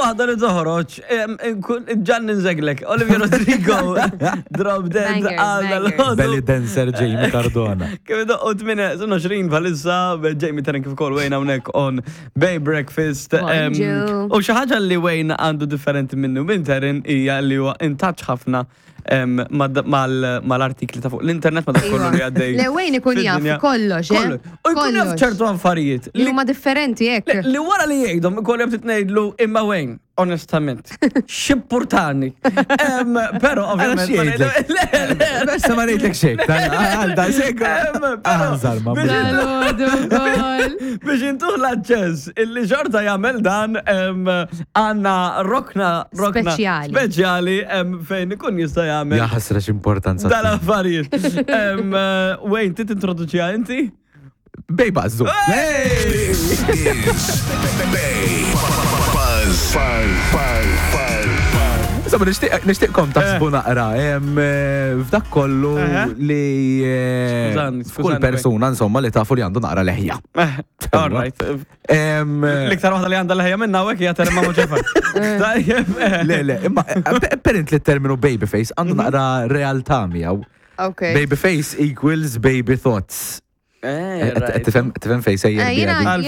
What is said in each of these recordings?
waħda li toħroġ, nkun ġan ninżeglek. Olivia Rodrigo, Drop Dead, Bangers, għal bangers. dal Belly dancer Jamie Cardona. Kif idoqqu 28 bħalissa, Jamie Taryn kif ukoll Wayne hawnhekk on Bay Breakfast. Bonġu. U xi ħaġa li Wayne għandu differenti minnu minn Taryn hija li huwa in touch ħafna mal-artikli ta' fuq l-internet ma dak kollu li għaddej. Le Wayne ikun jaf fid-dinja. kollox, eh? Kollox. U jkun jaf Kollox. ċertu affarijiet Li huma differenti hekk. Li wara li jgħidhom ikollu jaf titnejdlu imma Wayne, onestament, x'impurtani. Però ovvjament. Għala x'jgħidlek? Le, le, Bessa ma ngħidlek xejn, għal da sek. Però- Għanżar ma biex Dal-għodu wkoll. Biex intuħ l-aċċess illi xorta jagħmel dan għandna rokna rokna Speċjali. speċjali fejn ikun jista' jagħmel Ja ħasra x'importanza. dal-affarijiet. Wayne, ti tintroduċiha inti? Bej bażżu. This is Bay Buzz. Buzz. Buzz. Buzz. Insomma, nixtieqkom taħsbu naqra f'dak kollu Eħe. li Skużani, f'kull skużani, persuna insomma li tafu li għandu naqra leħja. All right. L-iktar waħda li għandha leħja minna hawnhekk hija Terma Moċefa. Tajjeb. Le, le, imma apparently terminu babyface għandu naqra realtà miegħu. Ok. Babyface equals baby thoughts. Right. Tifhem fejn sejjer Eh, bija Jena, di. Għalfejn?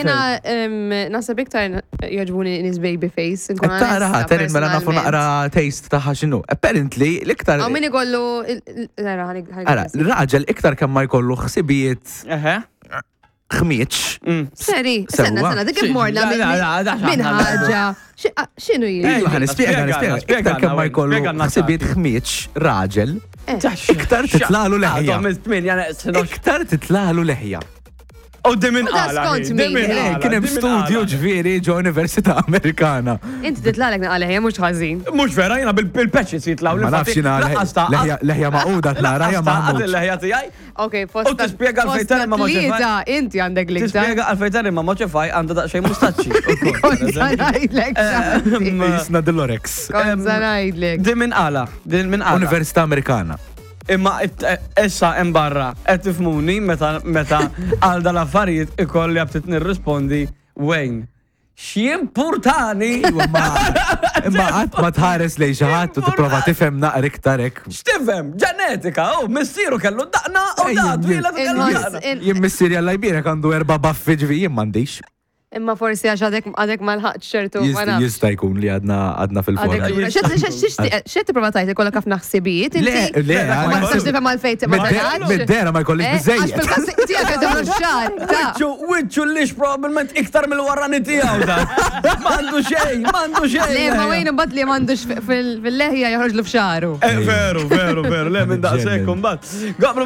jena naħseb iktar jogħġbuni nies baby face. nkun Qed Tara, onesta, terin mela nafu personalment. naqra taste taħħa x'inhu. Apparently l-iktar Għaw min ikollu. Nara, ħanik. Ara, l-raġel iktar kemm ma jkollu ħsibijiet Eħe. ħmieġ. Seri, senna, Sewwa. senna, dik kif morna La, la, la, da minn xaħna ħaġa. X'inhu jien? Ej, Iva, ħa nispjega, Spjega, nispjega. spjega, Iktar kemm ma Wayne, jkollu spjega għandna ħsibijiet ħmieġ raġel, iktar titlalu leħja. Iktar titlalu leħja. U di minn U da qala. skont hi, di min, minn eh. qala, Kien hemm di minn studju qala. ġifieri ġo Università Amerikana. Inti titlalek naqaleh, mhux ħażin. Mhux vera, jiena bil-patches jitlaw. Ma nafx jiena leħja- leħja maquda tnara hija maħmud. Il-leħja tiegħi. Ok, fost. U tispjega għalfejn tara ma maġġefaj. Tlieta, inti għandek l-iktar. Tispjega għalfejn tara ma moċefaj għandha daqsxejn mustaċċi. ukoll, per Kont eżempju. ngħidlek, xanti. Jisna Dolorex. Kont ngħidlek. Di minn qala, di minn qala. Università Amerikana. Imma issa hemm barra qed tifhmuni meta meta għal dal-affarijiet ikolli għabtit nirrispondi Wayne. X'impurtani Imma imma qatt ma tħares lejn xi ħadd u tipprova tifhem naqra iktar hekk. X'tifhem? Ġenetika, oh, missieru kellu daqna u Ej, da jien- twila kellu Inħoss- daqna. in- Jien missieri Alla jbierek għandu erba' baffi ġifi jien m'għandix. Imma forsi għax għadek għadek ma lħaqx ċertu. ma Jista' nafx. Jista' jkun li għadna għadna Għadek fil-forma. lura. X'qed tipprova tgħid ikollok ħafna ħsibijiet Le, inti? le, Ma għandek- tistax tifhem għalfejn ma tgħidx. Mid-dera ma jkollix Eh, Għax biżejjed. fil-każ tiegħek qed tagħmlu x-xagħar. ta' Wiċċu, wiċċu lix probabbilment iktar mill-warrani tiegħu da. M'għandu xejn, m'għandu xejn. Le, ma wejn imbagħad li m'għandux fil-leħja joħroġlu f'xagħru. Eh, Veru, veru, veru, le minn daqshekk imbagħad. Gabru